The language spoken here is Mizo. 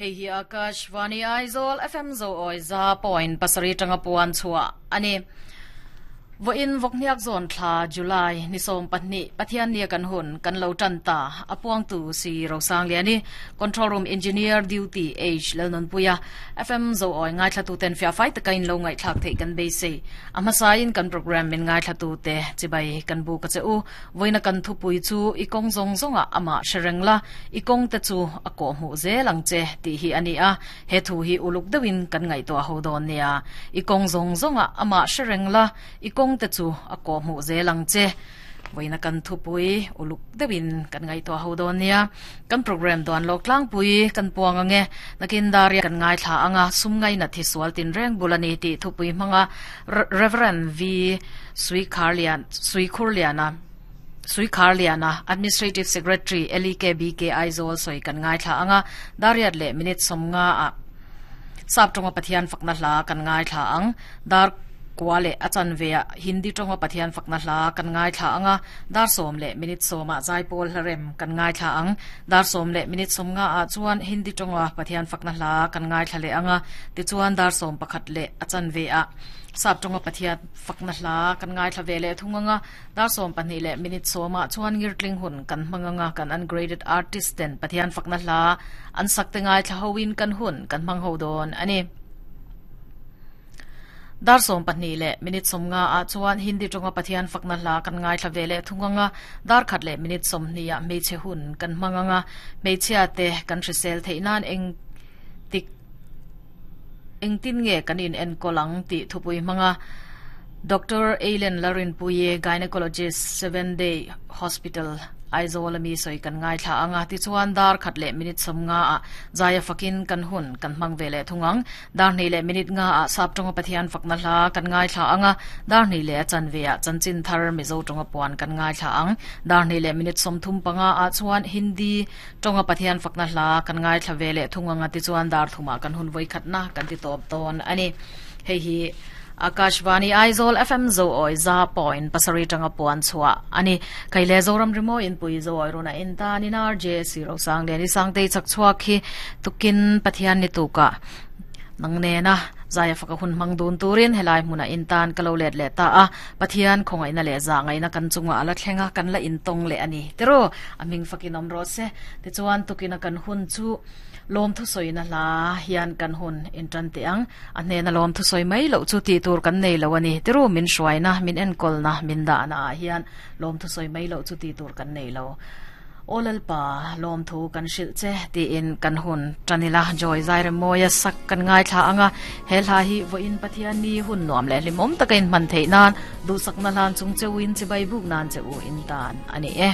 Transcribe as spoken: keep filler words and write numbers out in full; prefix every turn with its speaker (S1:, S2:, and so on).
S1: Hei hi Akashvani Aizawl F M zo oi za point pasari tanga puan chua ani vo in vokniak zone thla July ni som pahnih Pathian nia kan hun kan lo tan ta apuang tu si Rosang liani control room engineer duty H lalnon puya F M zo oi ngai thla tu ten fia fight kain lo ngai thlak thei kan be se amasain kan program min ngai thla tu te chibai kan bu ka che u voina kan thu pui chu ikong zong zonga ama sherengla ikong te chu ako mu zelang che ti hi ani a he thu hi uluk dewin kan ngai to ho don nia ikong zong zonga ama sherengla ikong te chu ako mu zelang che voina kan thu pui uluk dewin kan ngai to ho don nia kan program don lok tlang pui kan puang ange nakin daria kan ngai thla anga sum ngai na thi sual tin reng bulani ti thu pui manga Reverend V Sui Kharlian Sui Khurliana Sui Kharliana Administrative Secretary L E K B K Aizawl soi kan ngai thla anga dariat le minute somnga a sap tonga Pathian fakna hla kan ngai thla ang dar kwale achan vea Hindi tonga Pathian fakna hla kan ngai thla anga dar som le minute soma jaipol hlarem kan ngai thla ang dar som le minute somnga a chuan Hindi tonga Pathian fakna hla kan ngai thla le anga ti chuan dar som pakhat le achan vea sap tonga Pathian fakna hla kan ngai thla ve le thunganga dar som pahnih le minute soma chuan ngirtling hun kan hmanganga kan ungraded artist ten Pathian fakna hla an sakte ngai thla hoin kan hun kan hmang ho don ani dar som pahnih le minute somnga a chuan Hindi tonga Pathian fakna hla kan ngai thla ve le thunganga dar khat le minute somni a meiche hun kan hmanganga meichia te kan hrisel theinan eng tik engtin nge kanin en kolang ti thupui manga Doctor Ailen Larin Puye gynecologist seven day hospital Aizawl mi soi kan ngai thla anga ti chuan dar khat le minute somnga a zaya fakin kan hun kan hmang vele thungang dar ni le minute nga a sap tonga Pathian fakna hla kan ngai thla anga dar ni le chan ve a chanchin thar mizo tonga puan kan ngai thla ang dar ni le minute somthum panga a chuan Hindi tonga Pathian fakna hla kan ngai thla vele thunganga ti chuan dar thuma kan hun voi khatna kan ti top ton ani hei hi Akashvani Aizawl F M zo oi za point pasari tanga puan chua ani kaile zoram rimo in pui zo oi rona in ta ni nar J C Rosang le ni sangte chak chua khi tukin Pathian ni tuka nangne na zaya faka hun mang dun turin helai hmuna in tan kalo let le ta a Pathian khongai na le za ngai na kan chunga ala thlenga kan la in tong le ani tero aming fakin om ro se te chuan tukina kan hun chu lom thu soi na la hian kan hun in tan te ang a hne na lom thu soi mai lo chu ti tur kan nei lo ani tero min hruai na min en kol na min da na hian lom thu soi mai lo chu ti tur kan nei lo olal pa lom thu kan hril che ti in kan hun tanila joy zaire moya sak kan ngai thla anga he hla hi vo in Pathian ni hun nuam le limom takin man thei nan du sak na lan chung chewin chibai buk nan che u in tan ani e.